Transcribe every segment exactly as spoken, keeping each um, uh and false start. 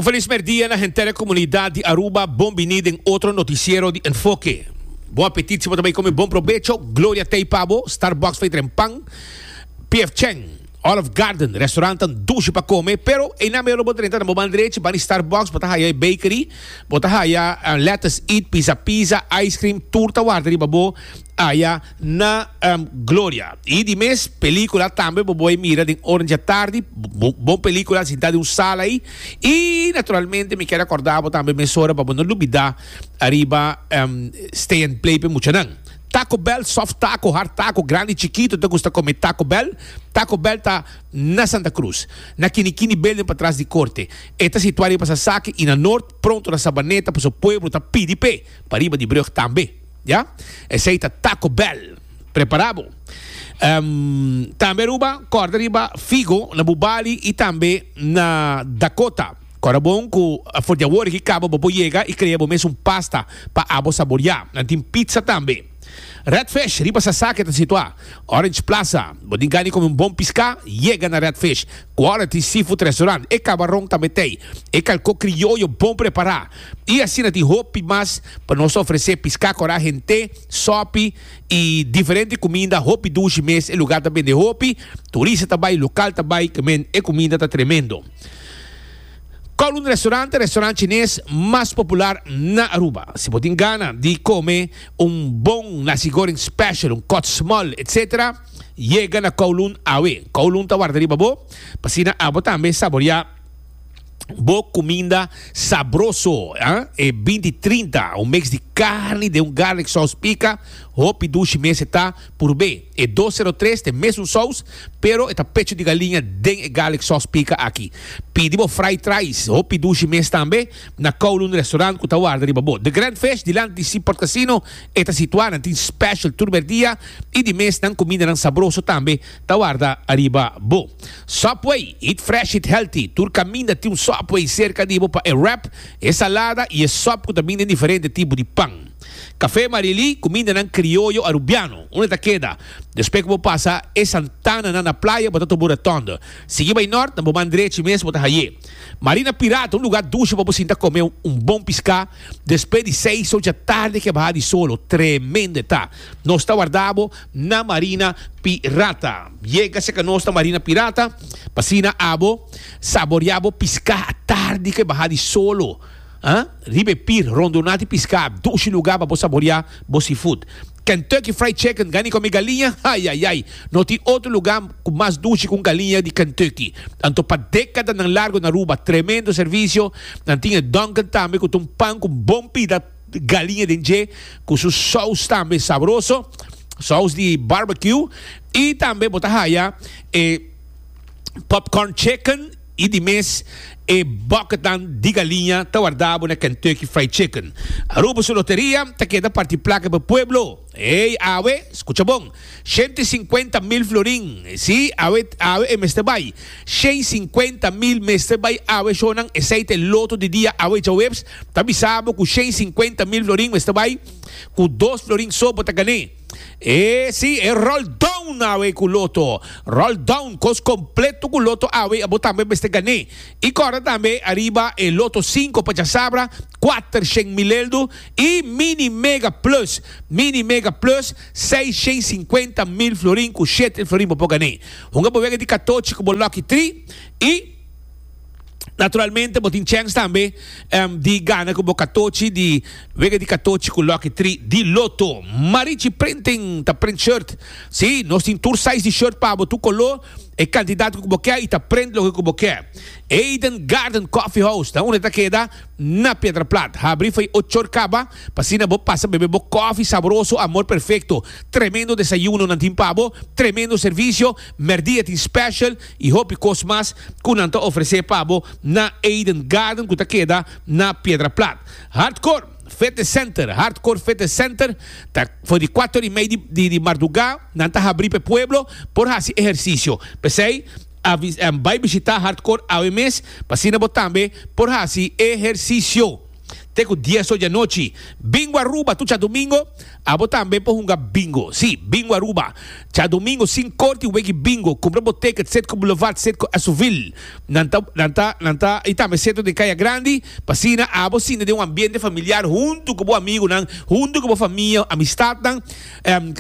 Un feliz merdia na henter comunidad di Aruba. Bon bini den otro noticiero di Enfoke. Bon apetit, si bo tambe come, bon probecho. Gloria t'ey pa bo, Starbucks for di trempan, P F Chang, Olive Garden, restaurant dushi pa come, pero ey na mero bo drenta na bo man drechi, banda di Starbucks, bo ta haya bakery, bo ta haya uh, Let Us Eat, Pizza Pizza, ice cream, tur ta warda riba bo aya na um, Gloria. Y di mes pelicula tambe bo por mira den ora di atardi, bon, bon pelicula, sinta den un sala ey. Y naturalmente mi kier recorda tambe mesora pa no lubida ariba um, Stay and Play pa muchanan. Taco Bell, soft taco, hard taco, grandi, chikito, ta gusta come Taco Bell? Taco Bell ta na Santa Cruz, na Kinikini Building patras di Corte. E ta situa pa Sasaki y na Noord, pronto na Sabaneta, pa e pueblo ta P D P, pariba di brug tambe. Ja? Esey ta Taco Bell. Prepara bo. Um, tambe Aruba, corda riba Figo, na Bubali y tambe na Dakota. Corda bon cu for di awor cu caba bo yega y crea bo mes un pasta pa abo saborea. Nan tin pizza tambe. Red Fish, riba Sasaki ta situa. Orange Plaza, bo tin gana come un bon pisca, yega na Red Fish. Quality Seafood Restaurant, e cabaron tambe tin. E calco crioyo bon prepara. Y asina tin hopi mas pa nos ofrece pisca cora hende, sopi y diferente cuminda, hopi dushi mes, e lugar tambe di hopi, turista tambe, local tambe, cu e cuminda ta tremendo. Kowloon Restaurant, restaurant chines mas popular na Aruba. Si bo tin gana di come un bon nasi goreng special, un cut small, et cetera, yega na Kowloon awe. Kowloon ta warda riba bo, pa asina abo tambe saborea bo cuminda sabroso, eh? E binti trinta, un mix di carni, di un garlic sauce pica, hopi dushi mes ta por B. E dos zero tres tin mesun sauce, pero e ta pecho di galiña den e garlic sauce pica aki. Pidi bo fried rice, hopi dushi mes tambe, na Kowloon Restaurant cu ta warda riba bo. The Grand Fish, dilanti di Seaport Casino, e ta situa, tin special tur dia y di mes nan cuminda nan sabroso tambe ta warda ariba bo. Subway, eat fresh, eat healthy. Tur caminda tin un Subway cerca di bo pa e wrap, e salada y e sop cu tambe tin diferente tipo di pan. Café Marili, cuminda nan crioyo arubiano. Unda ta keda? Despues cu bo pasa e Santana na, na playa, bo ta topa rotonde. Sigui bay nort, na bo man drechi mes, bo ta haye. Marina Pirata, un lugar dushi pa bo sinta come un, un bon pisca. Despues di seis or di atardi cu baha di solo. Tremendo ta. Nos ta warda bo na Marina Pirata. Yega serca nos na Marina Pirata, pa asina abo, saborea bo pisca atardi cu baha di solo. Ah? Riba e pier, rondona di pisca, dushi lugar pa saborea bo seafood. Kentucky Fried Chicken, gana come galiña? Ai, ai, ai. No tin otro lugar cu mas dushi cu galiña di Kentucky. Anto pa decada nan largo na Aruba, tremendo servicio. Nan tin Dunkin tambe cu un pan cu bon pida galiña den dje, cu su saus tambe sabroso, saus di barbecue y tambe bo ta haya eh, popcorn chicken y di mes e bucketnan di galiña ta warda bo na Kentucky Fried Chicken. Aruba su loteria ta keda parti placa pa pueblo. Ey, awe, scucha bon. shen sincuenta mil florin. Si, awe, awe e mester bay. shen sincuenta mil mester bay awe, shonan, esey ta Lotto di Dia awe djaweps. Ta bisa bo cu shen sincuenta mil florin mester bay. Cu dos florin so bo ta gana. E si, e roll down awe cu Lotto. Roll down, cos completo cu Lotto awe, abo tambe mester gana. Y corda tambe ariba e Lotto cinco pa sabra, cuater mil eldo y Mini Mega Plus. Mini Mega Plus, seis shen sincuenta mil florin cu shete florin pa gana. Hunga bo wega di catochi cu Lucky tres y naturalmente bo tin chance tambe um, di gana cu catochi di wega di catochi cu Lucky tres di Lotto. Marichi Printing ta print shirt. Si, nos tin tur size di shirt pa bo, tur color e cantidad cu bo kier y ta print loke cu bo kier. Eden Garden Coffee House, ta unda ta keda na Piedra Plat. Habri for di ocho or caba, pa asina bo pasa bebe bo coffee sabroso, amor perfecto. Tremendo desayuno nan tin pa bo, tremendo servicio, merdia tin special y hopi cos mas cu nan ta ofrece pa bo na Eden Garden cu ta keda na Piedra Plat. Hardcore Fitness Center, Hardcore Fitness Center, ta for di cuater y mei di, di, di marduga, nan ta habri pa pueblo por haci ehercicio. P'esey, um, bay bishita Hardcore awe mes, pa asina bo tambe por haci ehercicio. te ku dies or di anochi. Bingo Aruba tur djadumingo, abo tambe por hunga bingo. Si, Bingo Aruba. Djadumingo sinku or tin wega bingo. Kumpra bo ticket Citgo Boulevard, Citgo Azuville. Nan ta, nan ta, nan ta, i tambe Centro di Kaya Grandi, pa asina abo sinta den un ambiente familiar huntu ku bo amigunan, huntu ku bo famia, amistatnan. Um,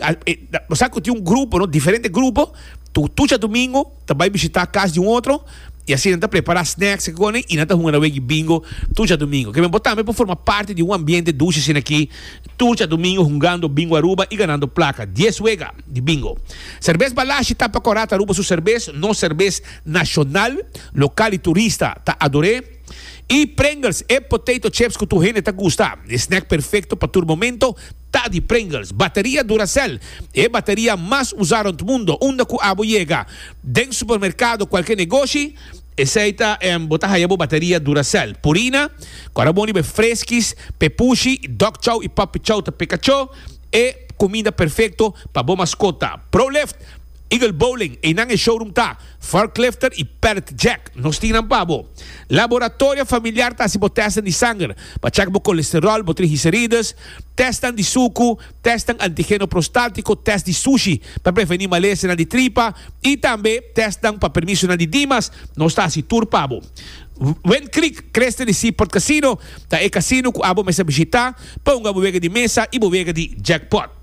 bo sa ku tin un grupo, no? Diferente grupo. Tur tur djadumingo ta bai bishitá kas di un otro i asina nan ta prepará snacks i kos i nan ta hunga na wega bingo tur djadumingo. Ke men bo tambe por forma parti di un ambiente dushi asina aki tur djadumingo hungando bingo Aruba i ganando plaka. Dies wega di bingo. Serbes Balashi tapa kòrá ta Aruba su serbes, nos serbes nashonal, lokal i turista ta ador'é. I Pringles, e potato chips ku tur hende ta gusta. E snack perfekto pa tur momento ta di Pringles. Bateria Duracell, e bateria mas usá rònt mundo. Unda ku abo yega, den supermerkado, kualke negoshi, esei ta bo ta haya bo bateria Duracell. Purina, ku ora bon riba e freskis, pepushi, dog chow i puppy chow ta pekachó, e kuminda perfekto pa bo maskota. Prolift, Eagle Bowling, einan e showroom ta, Forklifter y Pallet Jack, nos tin nan pa bo. Laboratorio Familiar ta hasi bo testnan di sanger pa chek bo kolesterol, bo triglicerides, testnan di suku, testnan antigeno prostátiko, test di sushi pa prevení malesanan di tripa y tambe testnan pa permisonan di Dimas, nos ta hasi tur pa bo. Wind Creek, Cresta di Seaport Casino ta e casino ku abo mester bishita pa hunga bo wega di mesa y bo wega di jackpot.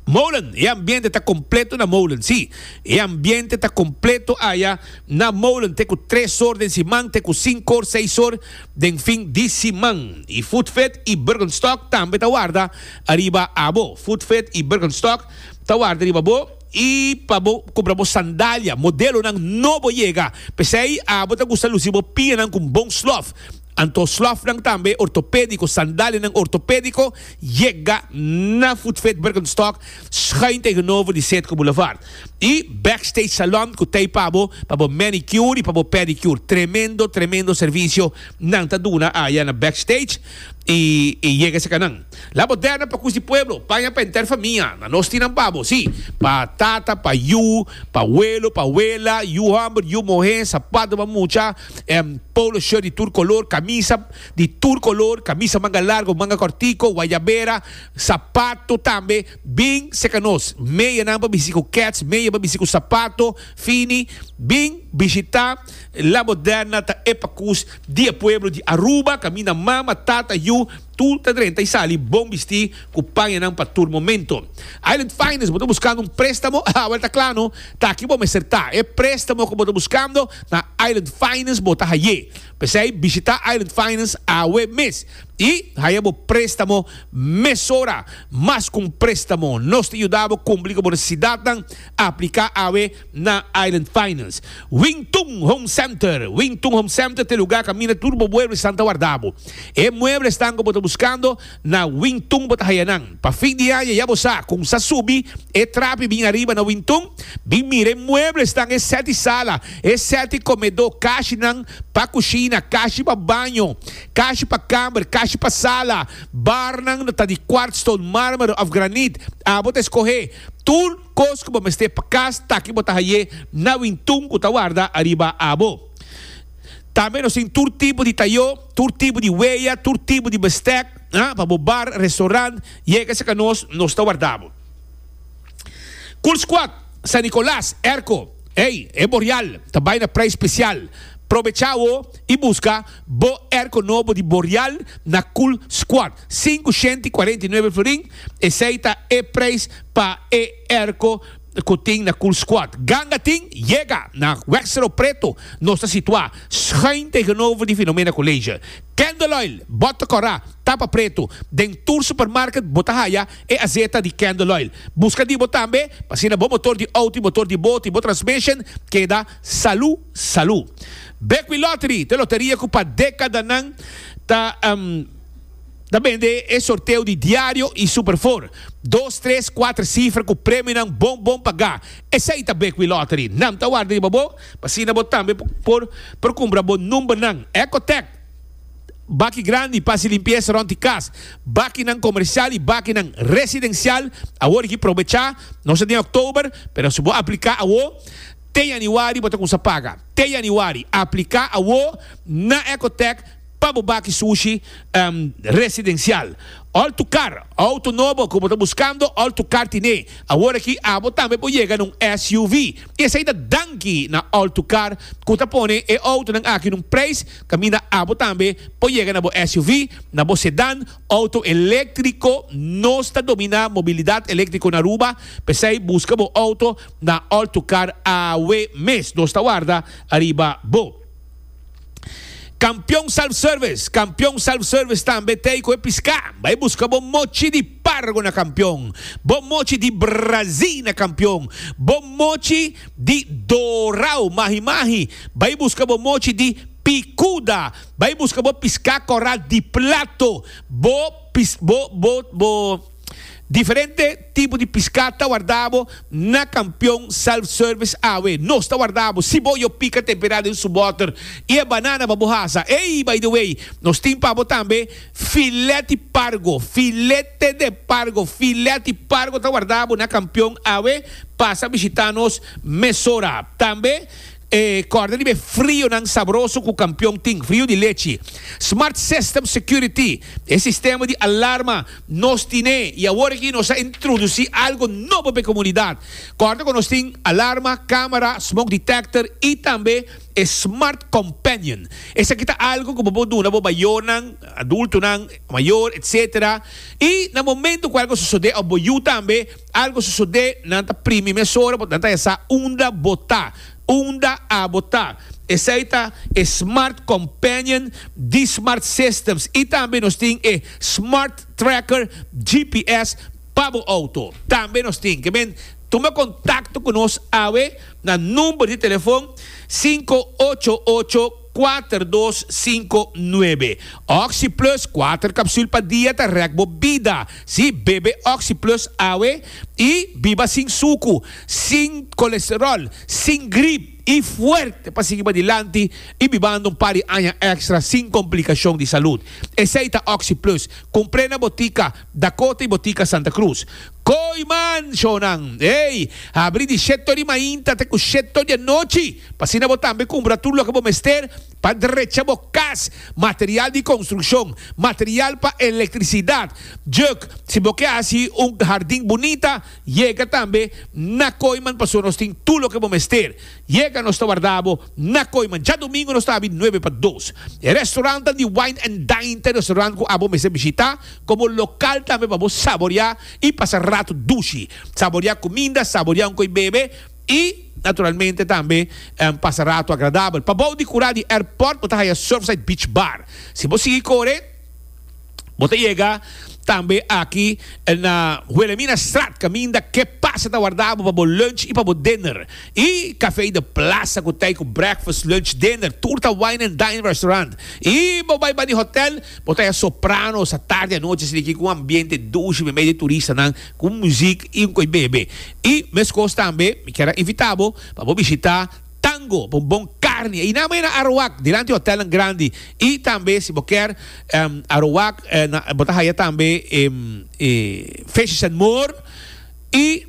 Molen, E ambiente ta completo na Molen. Sí, e ambiente ta completo aya na Molen te cu tres or den siman te cu cinco or, seis or den fin di siman. Y Foodfit y Birkenstock tambe ta warda ariba abo. Foodfit y Birkenstock ta warda riba bo y pa bo cumpra bo sandalia, modelonan nobo yega. P'esey abo ta gusta luci bo pianan cu un bon slof. Anto slòfnan tambe ortopédiko, sandalianan ortopédiko yega na Footfit Birkenstock schuin tegenover di Citgo Boulevard. I Backstage Salon ku tei pa bo pa bo manicure i pa bo pedicure. Tremendo tremendo servisio nan ta duna aya na Backstage i i yega esaki nan. La Moderna pa kus di pueblo, paña pa henter famia. Na nos tin nan pa bo, si, pa tata, pa yu, pa welo, pa wela, yu hòmber, yu mohé, sapato pa mucha. Polo shirt di tur color, camisa di tur color, camisa manga largo, manga cortico, guayabera, sapato tambe, bin seca nos. Meyanan pa bisti cu kets, meya pa bisti cu sapato fini, bin bishita La Moderna ta e pacus di e pueblo di Aruba, caminda mama, tata, yu, tur ta drenta y sali bon bisti cu pañanan pa tur momento. Island Finance, bo ta buscando un prestamo? Awel ta cla no, ta aki bo mester ta. E prestamo cu bo ta buscando na Island Finance bo ta haye. P'esey bishita Island Finance awe mes y haya bo prestamo mesora. Mas cu un prestamo, nos ta yuda bo cumpli cu bo necesidadnan. Aplica awe na Island Finance. Wing Tun Home Center, Wing Tun Home Center ta e lugar caminda tur bo mueblesnan ta warda bo. E mueblesnan cu bo ta buscando na Wing Tun bo ta haya nan. Pa fin di aña ya bo sa con sa subi e trapi bin ariba na Wing Tun, bin mira e mueblesnan, e set di sala, e set di comedor, kashinan pa cushina, kashi pa baño, kashi pa kamber, kashi pa sala, barnan ta di quartzstone, marmer of granit, abo ta escohe. Tur kos ku bo mester pa kas ta ki bo ta haye na wintun ku ta warda ariba abo. Tambe nos tin tur tipo di tayo, tur tipo di weya, tur tipo di bestek pa bo bar, restaurant, yega serka nos, nos ta warda bo. Cool Squad, San Nicolas, Airco, ey, e Boreal ta bai na prijs special. Probecha awo y busca bo airco nobo di Boreal na Cool Squad. Sinku shenti kuarenta i nuebe florin, esey ta e prijs pa e airco cu tin na Cool Squad. Ganga tin? Yega na Wexero Preto, nos ta situa schuin tegenover di Filomena College. Candle Oil, bota cora, tapa preto, den tur supermarket bo ta haya e azeta di Candle Oil. Busca di bo tambe, pa asina bo motor di auto y motor di boto y bo transmission keda salu salu. Bekwin Lottery ta e loteria cu pa decadanan ta ta bende e sorteo di diario y Super Four. Dos, tres, cuater cifra cu premionan bon bon paga. Esey ta Bekwin Lottery. Nan ta warda riba bo pa asina bo tambe por por cumpra bo numbernan. Ecotec. Baki grandi pa hasi limpiesa rònt di kas, bakinan komersial i bakinan residensial. Awor aki probechá, nos ta den òktober, pero si bo apliká awor, te yanüari bo ta kuminsá paga. Te yanüari. Apliká awor na Ecotec Pa bo baki sushi um, residencial. All to Car, auto nobo cu bo ta buscando, All to Car tine. Awor aki abo tambe por yega na un S U V. Y esey ta danki na All to Car, cu ta pone e auto nan aki na un prijs, caminda abo tambe por yega na bo S U V, na bo sedan, auto electrico. Nos ta domina mobilidad electrico na Aruba. Pesey busca bo auto na All to Car awe mes. Nos ta warda ariba bo. Campeon Self Service, Campeon Self Service tambe tin cu pisca. Bay busca bo mochi di pargo na Campeon, bo mochi di Brazil na Campeon, bo mochi di dorao, mahi mahi. Bay busca bo mochi di picuda. Bay busca bo pisca coral di plato, bo pis, bo bo bo diferente tipo di pisca ta warda bo na Campeon Self Service awe. Nos ta warda bo. Siboyo pica tempera den su boter y e banana pa bo hasa. Hey, by the way, nos tin pa bo tambe filete pargo, filete de pargo, filete pargo ta warda bo na Campeon awe. Pasa bishita nos mesora. Tambe eh, corda di frio nan sabroso cu Campeon tin, frio di lechi. Smart System Security, e sistema di alarma nos tine y awor aki nos a introduci algo nobo pa e comunidad. Corda cu nos tin alarma, camera, smoke detector y tambe e Smart Companion. Esaki ta algo cu bo duna bo mayornan, adultonan, mayor, et cetera. Y na momento cu algo sucede, of bo yiu tambe, algo sucede, nan ta primi mesora, nan ta sa unda bo ta, unda abo ta. Esey ta e Smart Companion di Smart Systems. Y tambe nos tin e Smart Tracker G P S pa bo auto. Tambe nos tin. Kiermen, tuma contacto cu nos awe na number di telefon cinco ocho ocho, cuatro dos cinco nuebe. Oxi Plus, cuater capsule pa dia ta rek bo bida. Si, bebe Oxi Plus awe y biba sin suco, sin colesterol, sin gripe y fuerte pa sigui adelante y bibando un par di aña extra sin complicacion di salud. Esey ta Oxi Plus. Cumpra na Botica Dakota y Botica Santa Cruz. Kooyman, shonan. Hey, habri di shete di mainta te cu shete di anochi. Pa asina bo tambe cumpra tur loke bo mester pa drecha bo cas, material di construccion, material pa electricidad. Juk, si bo kier haci un hardin bunita, yega tambe na Kooyman, paso nos tin tur loke bo mester. Yega, nos ta warda bo na Kooyman. Diadomingo nos ta nuebe pa dos. E restaurant di Wine and Dine, restaurant cu abo mester bishita, como local tambe pa saborea y pasa rato dushi. Saborea cuminda, saborea un coy bebe y naturalmente tambe um, pasa rato agradabel. Pabou di cura di airport, bo ta haya Surfside Beach Bar. Si bo sigui core, bo ta yega tambe aki na Wilhelmina Straat, caminda Que Pasa ta warda bo pa lunch y pa dinner. Y Café de Plaza cu tin cu breakfast, lunch, dinner, tur ta wine and dine restaurant. Y bo bay di hotel, bo ta Sopranos, atardi, anochi, asina cu ambiente dushi, medio di turistanan, cu musica y un coy bebe. Y mescos tambe, mi kier invita bo pa bishita Tango, un bon carni. Y na na Aruac, dilanti hotel grandi. Y tambe, si bo kier, um, Aruac, eh, na, bo ta haya tambe um, eh, Fishes and More y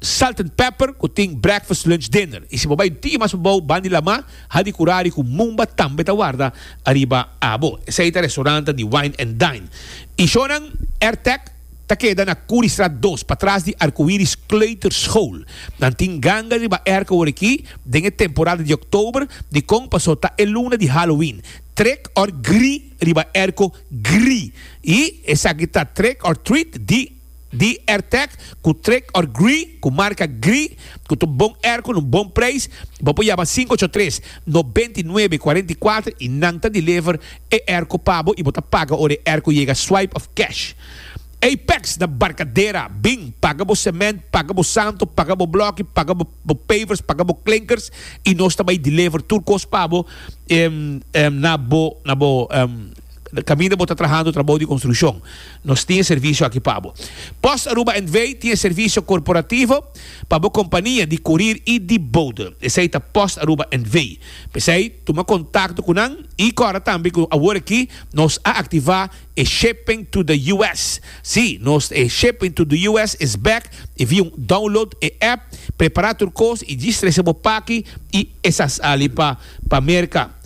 Salt and Pepper, cu tin breakfast, lunch, dinner. Y si bo bay dia mas bon, bandi lama, Hadicurari cu Mumba tambe ta warda ariba abo. Esey ta restaurant di Wine and Dine. Y shonan AirTech ta keda na Curistraat dos, patras di Arcoiris Kleuterschool. Nan tin ganga riba airco aki, den temporada di october, dicon? Paso ta e luna di Halloween. Trick or gree riba airco gree. Y esaki ta trick or treat di di AirTech cu trick or gree, cu marca gree, cu un bon airco, un bon prijs. Bo por yama cinco ocho tres noventa y nuebe cuarenta y cuater y nan ta deliver e airco pa bo y bo ta paga ora airco yega, swipe of cash. Apex na Barcadera, bin, paga bo cement, paga bo santo, paga bo bloki, paga bo, bo pavers, paga bo klinkers y nos tambe deliver tur cos pa bo um, um, na bo na bo um, caminda bo ta trahando trabou di construccion. Nos tin servicio aki pa bo. Post Aruba N V tin servicio corporativo pa bo compania di courier y di bode. Esey ta Post Aruba N V. Pesey, tuma contacto cu nan y awor tambe cu awor aki nos a activa e shipping to the U S. Si, nos e shipping to the U S is back. If you download e app, prepara tur cos y djis trece bo paki y e ta sali pa pa Merca.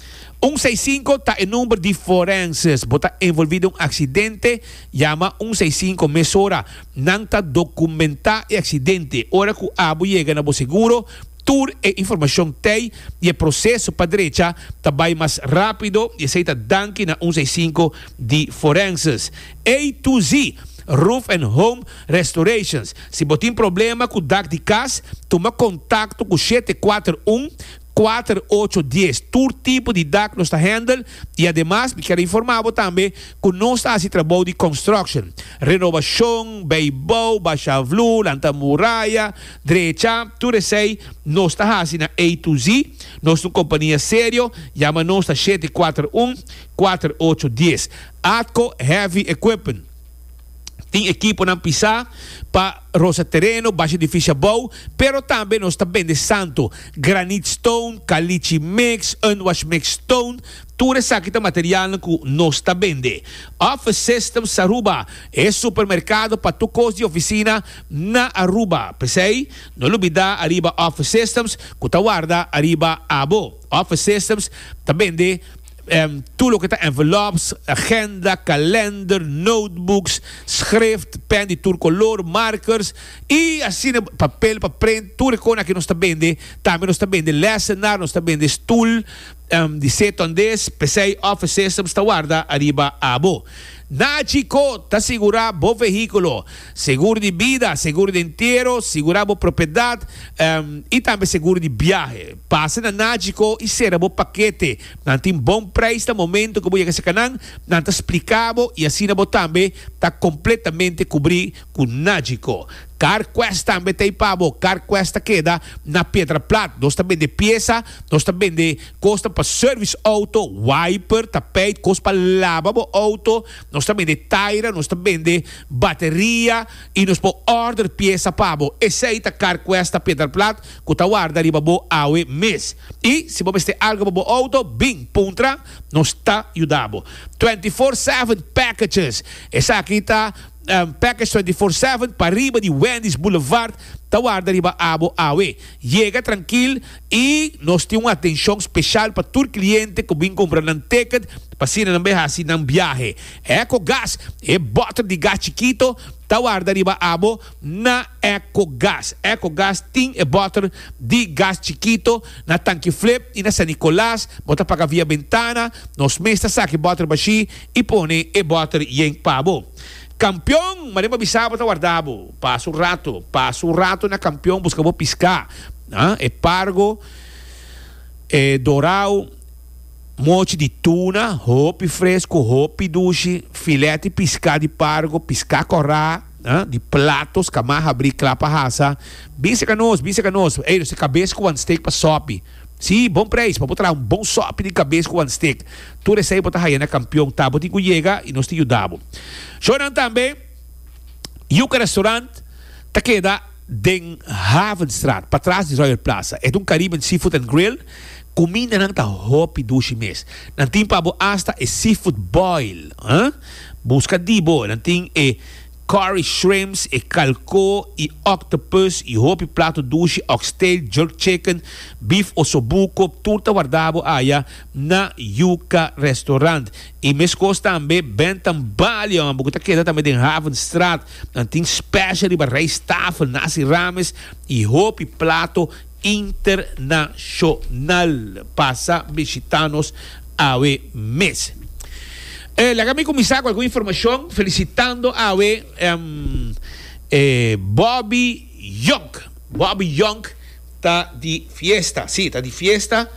Un seis sinku ta e number di forenses. Bo ta envolvi den un accidente, yama un seis sinku mesora. Nan ta documenta e accidente. Ora cu abo yega na bo seguro, tur e informacion tey y e proceso pa drecha ta bay mas rapido y esey ta danki na un seis sinku di forenses. A to Z Roof and Home Restorations. Si bo tin problema cu dak di cas, tuma contacto cu shete kuater un, kuater ocho dies. Tur tipo di dak nos ta handle y ademas mi kier informa bo tambe cu nos ta haci trabou di construction, renovacion, bijbouw, basha vloer, lanta muraya, drecha, tur esey nos ta haci na A to Z. Nos ta un compania serio, yama nos na shete kuater un, kuater ocho dies. Atco Heavy Equipment. Tin ekiponan pisá pa rosa tereno, basha edificio abou, pero tambe nos ta bende santo, granite stone, caliche mix, unwash mix stone, tur esaki ta materialnan ku nos ta bende. Office Systems Aruba, e supermercado pa tur kos di oficina na Aruba. P'esei, no lubida ariba Office Systems ku ta warda ariba abo. Office Systems ta bende Em, tur loke ta envelopes, agenda, kalender, notebooks, schrift, pen di tur color, markers y asina papel pa print, tur e kona aki nos ta bende. Tambe nos ta bende lessenaar, nos ta bende stoel, em, di seto andes, p'esei Office Systems ta warda ariba abo. Nachico ta sigura bo vehículo, seguro di bida, seguro di entierro, sigura bo propiedad, em, y tambe seguro di viaje. Pasa na Nachico y cera bo paquete. Nan tin bon prijs na momento cu bo yega cerca nan, nan ta explica bo y asina bo tambe ta completamente cubri cu Nachico. CarQuest tambe ta pa bo. CarQuest ta keda na Piedra Plat. Nos ta bende pieza, nos ta bende costa pa service auto, wiper, tapijt, cos pa lava bo auto, nos ta bende taira, nos ta bende bateria y nos po order pieza pa bo. Esey ta CarQuest ta Piedra Plat, ku ta warda riba bo awe mes. Y si bo mester algo pa bo auto, bing, puntra, nos ta yuda bo. twenty-four seven packages. Esaki ta, um, package twenty-four seven pa riba di Wendy's Boulevard, ta warda riba abo awe. Llega tranquil y nos tin una atención especial pa tur cliente ku bin compra nan ticket, pa asina nan bay hasi nan viaje. Eco Gas, e boter di gas chiquito, ta warda riba abo na Eco Gas. Eco Gas tin e boter di gas chiquito na Tanque Flip y na San Nicolas, bota paga via ventana, nos mesta saque boter bashi y pone e boter yen pabo. Campeón, Marema Bisabo ta guardabo. Pasa un rato, pasa un rato na Campeón, busca bo piscar. Ah, e pargo, e dorau, mochi di tuna, hopi fresco, hopi dushi, filete piscar di pargo, piscar corá, ah, di platos, camaja abri, clapa rasa. Binse canos, binse canos. Ei, você cabeça com one steak pa sopi. Sí, bom preço, pa botar um bom sopi de cabeça com one steak. Tu recebe botar aí na Campeão, tá? Botico chega e nós te ajudamos. Choran também, Yuca Restaurant, ta queda den Havenstraat, para trás de Royal Plaza. É um Caribbean Seafood and Grill. Comida não tá hopi dushi mes. Não tem pabo hasta e seafood boil. Hein? Busca dibo. Não tem e curry shrimps, e calco, e octopus, e hopi plato dushi, oxtail, jerk chicken, beef ossobuco, turta guardabo aya na Yuca Restaurant. E mescos também Bentham Bali, uma bukuta queda também den Havenstraat. Não tem special riba rijsttafel, nasi rames, e hopi plato internacional. Passa visitanos awe mes. Eh, laga mi cuminsa cu algun informacion, felicitando awe, em, eh, Bobby Young. Bobby Young ta di fiesta. Sí, ta di fiesta.